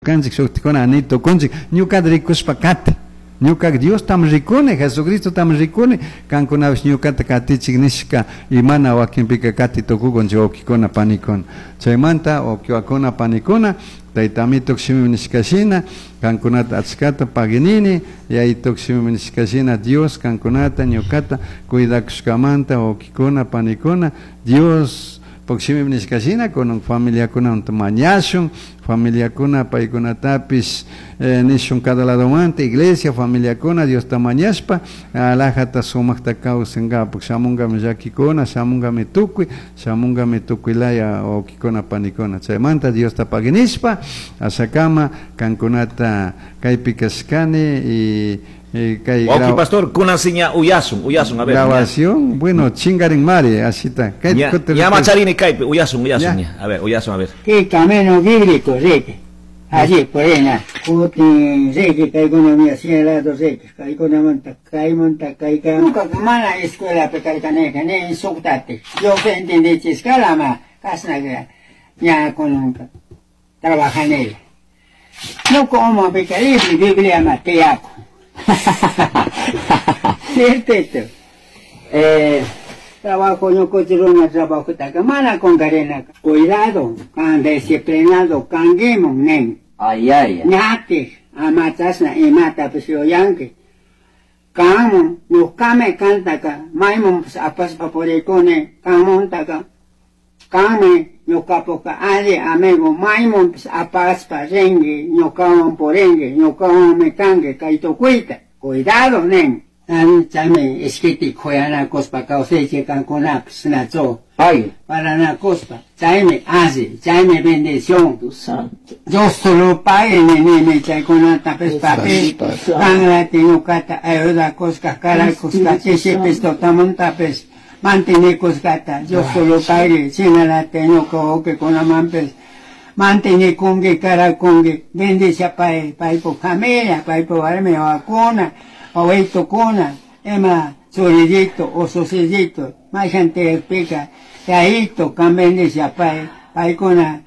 Ñukanchik shuktikuna ni tukunchik, ñukata rikushpa kati. Ñuka Diostam rikuni, Jesucristotam rikuni, kankunapish ñukata katichik nishka y mana wakinpika kati tukukunchik wawkikuna panikuna. Chaymanta wawkiwakuna panikuna, Tayta Amito shimi nishka shina, kankunata achkata paginini, Yayituk shimi nishka shina Dios kankunata ñukata cuidakushkamanta wawkikuna panikuna, Dios shimi nishka shina kunan familiakunamanta mañashun, familiakuna paykunatapish nishun cada ladomanta iglesia familiakuna Diosta mañashpa alajata sumakta kawsankapak, shamunkami llakikuna, shamunkami tukuy, shamunkami tukuylaya wawkikuna panikuna. Chaymanta Diosta paginishpa ashakama kankunata kaypi kashkani y kay Wawki pastor, kunasiña uyasun, uyasun, a ver. Grabación, bueno, chingarin mari, asita. Ña, ña macharini kaypi, uyasun, uyasun, ña. A ver, uyasun, a ver. Qué camino bíblico, Ricky. Allí, por ahí, na. Kutin, Ricky, kaykuna mía, señalado, Ricky. Kaykuna monta, kay monta, kay kay. Nunca mana escuela pekarkaneka, ne insultate. Yo que entendí chiscala, ma, kasna que ña con nunca. Trabaja en ella. No como pecaribli, Biblia ma, te hago. Cierto. Trabajo no cochiruna, trabajo taca, mana con carena. Cuidado, can disciplinado, can gimon, nen. Ay, ay. Ñate, amatasna y mata pues yo yanque. Camo, no kame cantaka, maimon apas paporicone, camon taka. Kame, no capoca, ale, amigo, maimon apas pa rengue, no camon porengue, no camon me cangue, kaito cuita. Cuidado, nen. Chame, esquiti, joyana, cospa, causeche, cancuna, snazo. Ay. Para na cospa. Chame, hace, chame bendición. Tu santo. Yo solo pague, nene, me chay con alta pes papel. Cangra, tinucata, ayuda, cosca, cara, cosca, cheche, pesto, tamonta, pes. Mantene coscata, yo solo pague, chinala, tenuco, que con la mampes. Mantene congue, cara, congue, bendice a pae, pae por familia, pae por arme, vacuna, o esto cona, ema, soledito, o sociedito, más gente explica, yaito, can bendice a pae, pae con la,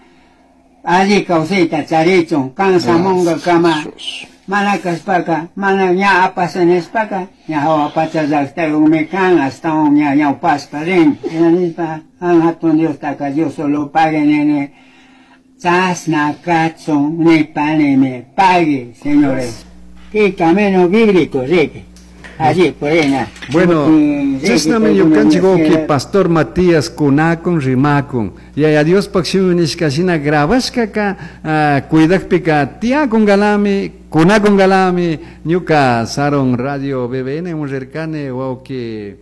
allí causita, charicho, cansa monga, cama, mana caspaca, mana ña apasan espaca, ña hawa pacha llaqta me can hasta un ña ña paspa rin, nispa, an hatun Dios taka, Dios solo pague nene, chasna cachon, ni pane me pague, señores. Qué camino bíblico, Ricky. Allí, por ahí, na. Bueno, Ricky, chasnami Ricky, ñukanchik Ricky, wawki pastor Matías kunakun rimakun. Yaya Diospak shimi nishka shina grabashkaka, cuidakpika tiakungalami, kunakungalami, ñuka Saron Radio BBN unrirkani wawki,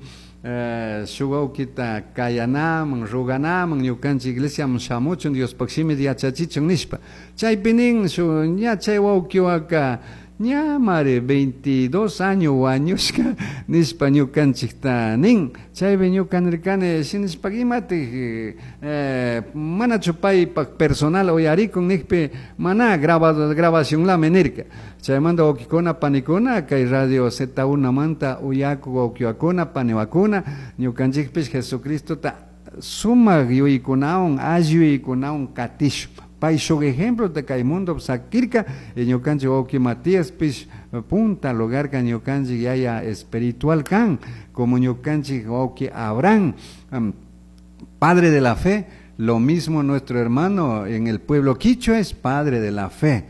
shuk wawkita kayanaman, ruganaman, ñukanchik iglesiaman shamuchun, Diospak shimi yachachichun nishpa. Chaypi nin, shu ña chay wawkiwaka, ña mare 22 años wañushka nishpa ñukanchikta nin. Chaypi ñuka nirkani, shinishpa imatik, manachu paypak personal uyarikun nikpi mana grabado, grabación lame nirka. Chaymanta wawkikuna panikuna kay Radio Z1 manta uyaku wawkiwakuna paniwakuna ñukanchikpish Jesucristota sumak yuykunawan alli yuykunawan katishun. Pay shuk ejemplo de kay mundo sakirka, y ñukanchik wawki Matías pish punta lugar ka ñukanchik yaya espiritual kan, como ñukanchik wawki Abraham, padre de la fe, lo mismo nuestro hermano en el pueblo quichua es padre de la fe.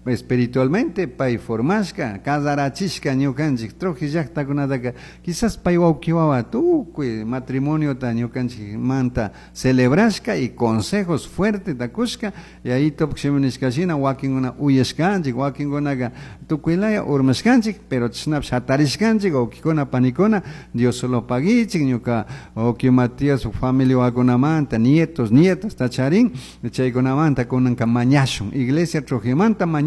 Espiritualmente, pay formashka, kasarachishka ñukanchik, troji llaqtakunataka, quizás pay wawkiwawa tukuy matrimonio ta ñukanchik manta celebrashka y consejos fuertes takushka, y ahí topkshimi nishka shina wakinkuna uyashkanchik, wakinkunaka tukuylaya urmashkanchik, pero chashnapish hatarishkanchik, wawkikuna panikuna, Dios solo paguichik, ñuka wawki Matías familia wakunamanta, nietos, nietas tacharin, chaykunamanta kunanka mañashun, iglesia trojimanta mañashun,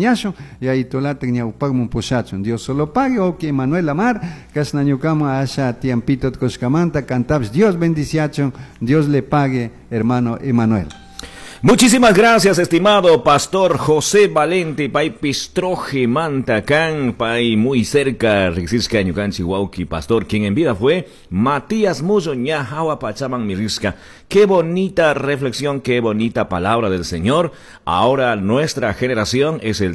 y ahí tolatek ñawpakmun pushachun. Dios solo pague, wawki Manuel Lamar, kasna ñukama asha tiempito tkoshkamanta, cantabs, Dios bendiciachun, Dios le pague, hermano Emanuel. Muchísimas gracias, estimado pastor José Valente, pay pistroje mantacán, pay muy cerca, rixiska ñukanchi wauki, pastor, quien en vida fue Matías Muzo, ña hawa pachaman mirisca. Qué bonita reflexión, qué bonita palabra del Señor. Ahora nuestra generación es el